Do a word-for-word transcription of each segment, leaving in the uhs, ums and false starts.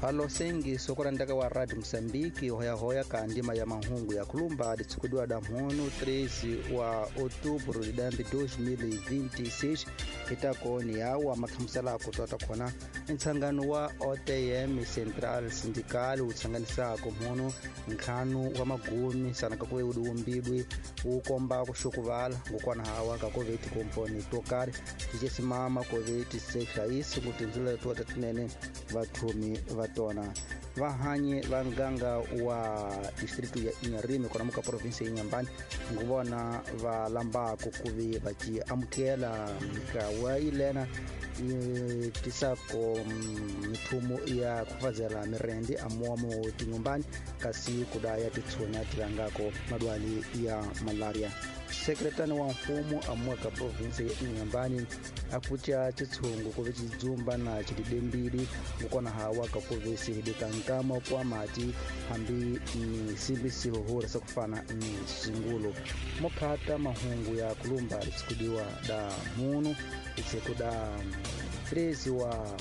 Halo sengi sokorandaka wa Radio Mosambiki hoyahoya ka ndima ya mahungu ya kulumba litsikudiwa da mhono treze wa outubro lidambi dois mil e vinte e seis itakoni yawa makhamusela kutota khona ntsangano wa O T M Central Sindical utsanganisako mhono ntlhanu wa magumi sanaka kuve udiumbidwi wu komba kuxukuvala ngokwana hawa ka kuve tikomponi to karhi ticesimama kuve tisehlayisi ku tindzilo to tinene vathumi va tona vahanyi va nganga wa distritu ya Inharime kona muka province ya Inhambane nguvona va lambako kuve va ci amukela mikawa yilena yi tisako mithumo ya kufazela mirendi amuwamo tinyumbani kasi kudaya titshonya tilangako madwali ya malaria. Sekretani wa mfumo amuwa ka province ya Inhambane akucha chitsungu kuve chidzumba na chididembili ngukona hawa kakuve sihidika nkama kwa mati hambi ni simbi sihuhura sakufana ni singulu mokhata mahungu ya kulumba litsikudiwa da munu itsikuda treze wa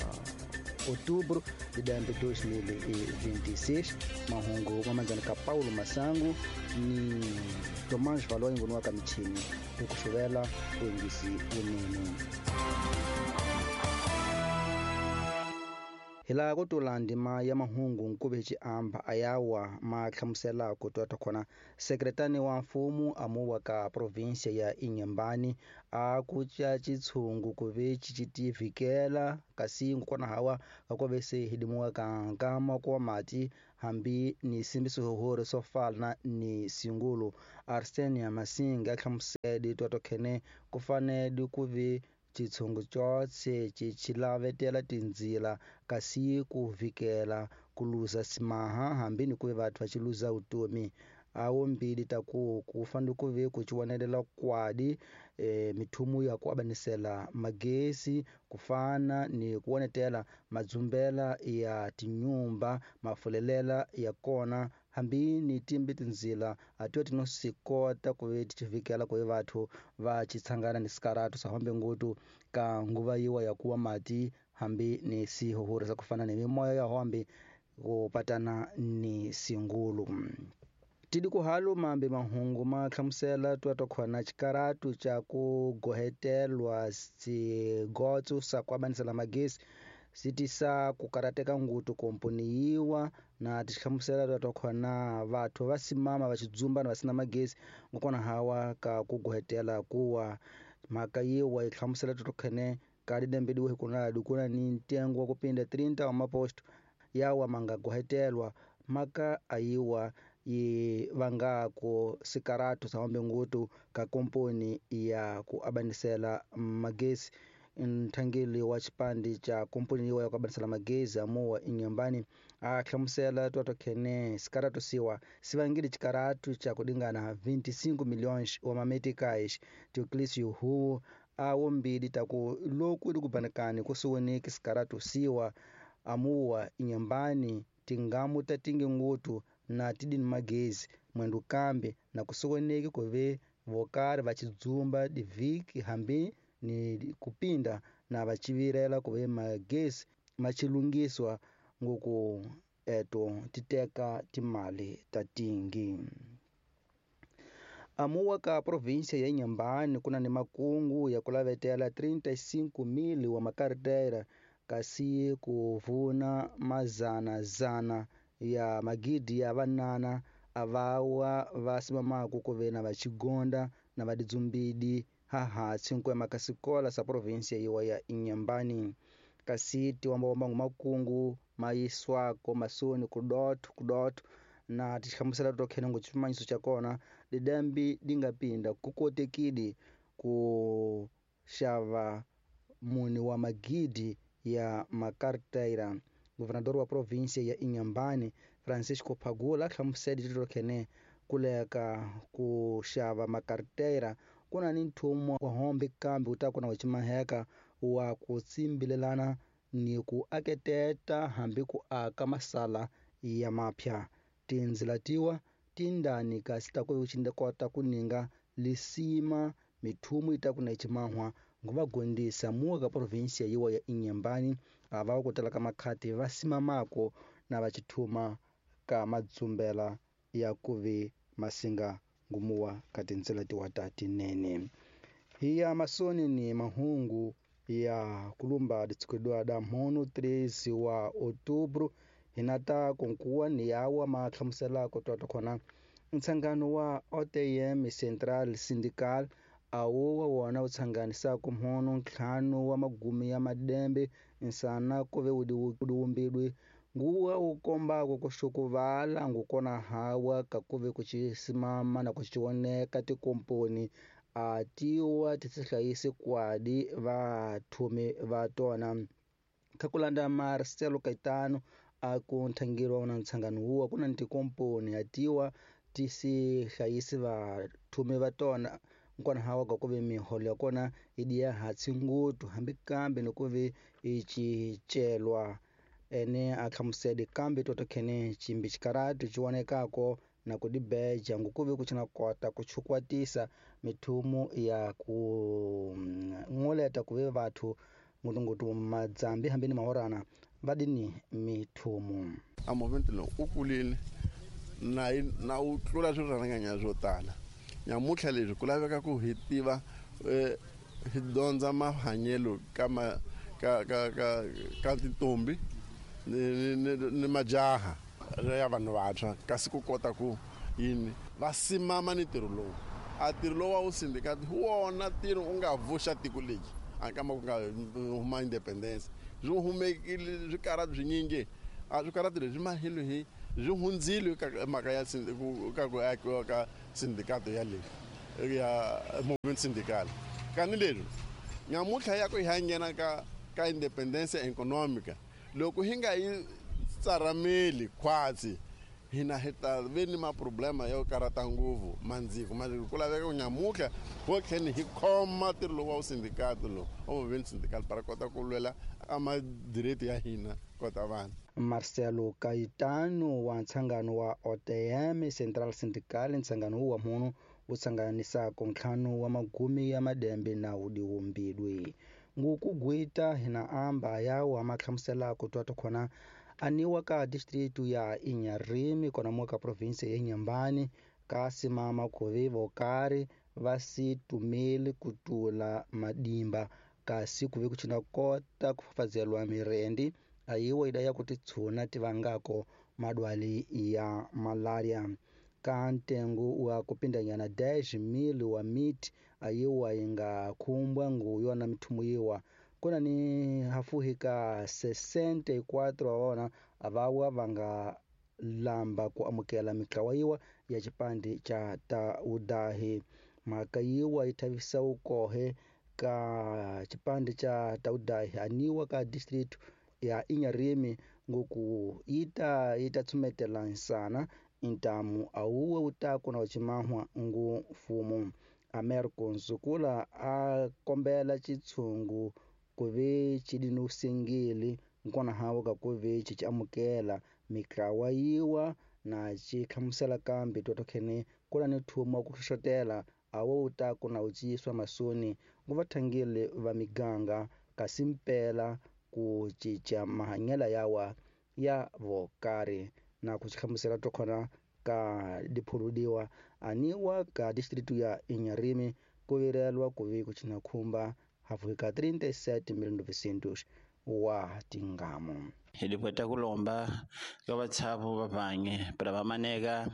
outubro de dois mil e vinte e seis. Mahungu mamanzana ka Paulo Masangu ni Tomás Valoi ngonuwa ka michini ukuxuvela wengisi unene. Hilaha ku tula ndima ya mahungu nkuve xiamba ayawa ma hlamusela ku twa khona sekretani wa mfumo amuwa ka province ya Inhambane a ku ca chitshungu kuve xitivikela kasi ngukona hawa ka se hidimuwa ka nkama kwa mati hambi ni simbiso swo fana ni singulu. Arsenia Masinga hlamusela twa khene ku fanele ku ve chitshungu chotse chichilavetela tindzila kasi ku vikela ku luza simaha hambi ni kuve vathu va chiluza utomi awo mbili taku ku fanele ku ve ku chiwonelela kwadi e, mithumu ya ku abanisela magesi kufana ni kuwonetela madzumbela ya tinyumba mafulelela ya kona hambi ni timbi tindzila atiwa tinosikota kuve tichivikela kuve vathu va chitsangana ni sikaratu sahombe ngutu ka nguva yiwa ya kuwa mati hambi ni sihuhura sa kufana ni mimoya ya hombe kupatana ni singulu. Tidi kuhalu mambe mahungu ma hlamusela twa khona xikaratu xa ku gohetelwa swigotso swa ku abanisela magesi swi tisa ku karateka ngutu komponi yiwa na tihlamusela twa khona vathu va simama va xidzumba na va sina magesi ngokona hawa ka ku gohetela kuwa mhaka yiwa yi hlamusela twa khene ka lidembediwe hi kuna dikuna ni ntengo wa kupinda trinta wa maposto yawa manga gohetelwa maka ayiwa yi vangako sikaratu sa hombe ngutu ka komponi ya ku abanisela magesi. Nthangeli wa xipandi xa komponi yiwa ya ku abanisela magezi amuwa Inhambane a hlamusela twa khene sikaratu siwa sivangile xikaratu xa kudingana vinte e cinco milhões wa mameticais Teoclício Huo awo mbili taku loku likubanakani kusiwoneki sikaratu siwa amuwa Inhambane tingamu ta tingi ngutu na tidini magezi mwendu kambe na kusiwoneki kuve vokari va chidzumba divhiki hambi ni kupinda na vachivirela kuve magezi machilungiswa ngoku eto titeka timali ta tingi. Amuwa ka provinsia ya Inhambane kuna ni makungu ya kulavetela trinta e cinco mil wa makartera kasi kuvuna mazana zana ya magidi ya vanana avawa va simamaku kuve na vachigonda na vadidzumbidi haha cinque makasikola sa provinsia yiwa ya Inhambane kasi tiwambawamba makungu mayiswako masoni kudotho kudotho na tihlamusela tokhene ngo chimanyiso cha kona lidambi dingapinda kukotekidi ku xava muni wa magidi ya makartera. Governador wa provinsia ya Inhambane Francisco Pagula hlamusela tokhene kuleka ku xava makartera kuna ni nthumo wa hombe kambe wu ta kuna wa chimaheka wa ku tsimbilelana ni ku aketeta hambi ku aka masala ya mapya tindzila tiwa tindani kasi ta ku kota ku ninga lisima mithumu yi ta ku na chimahwa Nguvagondisa muwa ka província yiwa ya Inhambane ava ku tala ka makhati va simamako na va chithuma ka madzumbela ya kuve masinga ngumuwa ka tintsela tiwa ta tinene. Hi ya masoni ni mahungu ya kulumba ditsikudwa da mhono treze wa outubro hinata kunkuwa ni yawa mahlamusela ku twa khona ntsangano wa O T M Central Syndical awu wa wona wu tsanganisaka mhono ntlhanu wa magumi ya madembe nsana ku ve wu diwumbidwe nguwa wu kombaka ku xukuvala ngukona hawa ka ku ve ku chisimama na ku chioneka tikomponi a tiwa tihlayisi kwadi vathumi va tona. Khakulanda Marcelo Caetano a ku nthangiro wa ntsangano wuwa ku na tikomponi a tiwa tisihlayisi vathumi va tona nkona hawa ka ku ve miholo ya kona yi diya hatsi nguthu hambi kambe ni ku ve i cicelwa ene a hlamusele kambe toto khene chimbi xikarati xi vonekako na ku dibeja ngukuve ku china kota ku chukwatisa mithumu ya ku ngoleta ku ve vathu ngutunguthu madzambi hambi ni mahorana va dini mithumu. A movement lowu u kulile na na u tlula swirhanganya swo tala. Nyamutlha leswi ku laveka ku hi tiva hi dyondza mahanyelo ka ma ka ka ka ka tintombi ni ni ni majaha ya vanhu vantshwa kasi ku kota ku yini va simama ni ntirho lowu. A ntirho lowu wa wu sindikati hi wona ntirho u nga vuxa tiko leri a kama ku nga huma independence byi humekile swikarati swinyingi a swikarati leswi mahilo hi byi hundzile ka mhaka ya ka ku akiwa ka sindikato ya le ya movement syndical. Kani leswi nyamutlha ya ku hi nghena ka ka independence economica loko hi nga yi tsarameli khwatsi hina hi ta ve ni maproblema yo karata nguvu mandziko mandziko ku laveka ku nyamutlha wo tlheni hi khoma ntirho lowu wa wu sindikato lowu wa movement syndical para kota ku lwela a madireti ya hina kota vanhu. Marcelo Caetano wa ntsangano wa O T M Central Syndical ntsangano wa munhu wu tsanganisaka ntlhanu wa magumi ya madembe na wudiwumbidwe ngukugwita hina amba yawa mahlamusela ku twa khona aniwa ka district ya Inharime kona mo ka province ya Inhambane ka simama ku ve vokari va si tumeli ku tula madimba kasi ku ve ku china kota ku fafazeliwa mirendi ayiwa ida ya ku titshuna tivangako madwali ya malaria. Ka ntengo wa kupindanyana dez mil wa miti ayiwa inga khumbwa nguyo na mithumu yiwa kuna ni hafuhi ka sessenta e quatro wa vona avawa vanga lamba ku amukela mitlawa yiwa ya xipandi xa Taudahi. Mhaka yiwa yi thavisa ukohe ka xipandi xa Taudahi aniwa ka district ya Inharime ngoku yita yita tsumetela nsana intamu awuwe utaku na uchimahwa ngu mfumo. Americo Nzukula a kombela chitshungu ku ve chidinusengeli nkona hawo ka ku ve chi amukela mitlawa yiwa na chi hlamusela kambe toto khene kuna ni thuma ku xotela awo utaku na utsiswa masoni nguvathangile va miganga kasi mpela ku cinca mahanyelo yawa ya vokari na ku hlamusela tokhona ka diphuludiwa aniwa ka district ya Inharime ku virelwa ku ve ku china khumba hafu ka trinta e sete mil novecentos wa tingamo. Hi lipweta kulomba ka vatshavu va vange para va maneka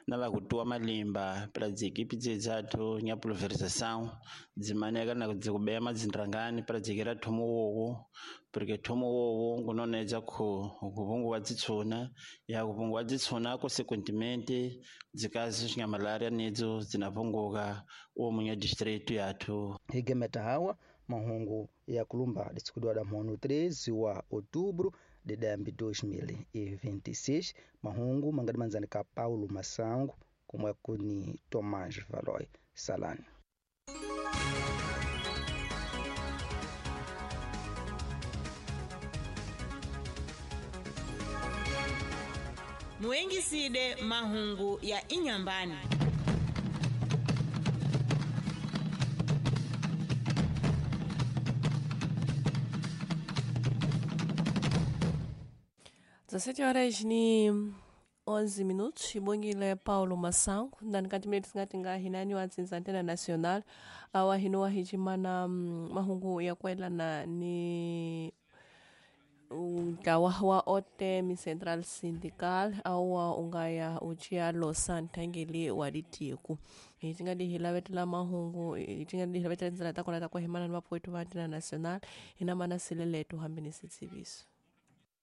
na va kutuwa malimba para dzikipi dzedzathu nya pulverização dzimaneka na dzikubeya madzindrangani para dzikira thomo wowo porque thomo wowo ngunonedza ku kuvunguwa dzitshuna ya kuvunguwa dzitshuna consequentemente dzikazi xinya malaria nedzo dzinapunguka omunya district yathu. Higemeta hawa mahungu ya kulumba ditsikudwa da mhono treze wa outubro de dois mil e vinte e seis. Mahungu mangadi manzani ka Paulo Masango kumwe kuni Tomás Valoy Salani. Muengiside mahungu ya Inhambane. dezessete horas ni onze minutos ibongile Paulo Masango ndani kati mene tisingati nga hinani wa dzinza antena nacional awa hino wahicimana mm, mahungu ya kuelana ni ntlawa wa O T M Central Sindical awa ungaya ucia losa nthangeli wa litiku hi hi lavetela mahungu hi tinga hi lavetela tindzela ta kona ta ku himana ni vapfuwetu va antena nacional hina mana sileleto hambi ni switsiviso.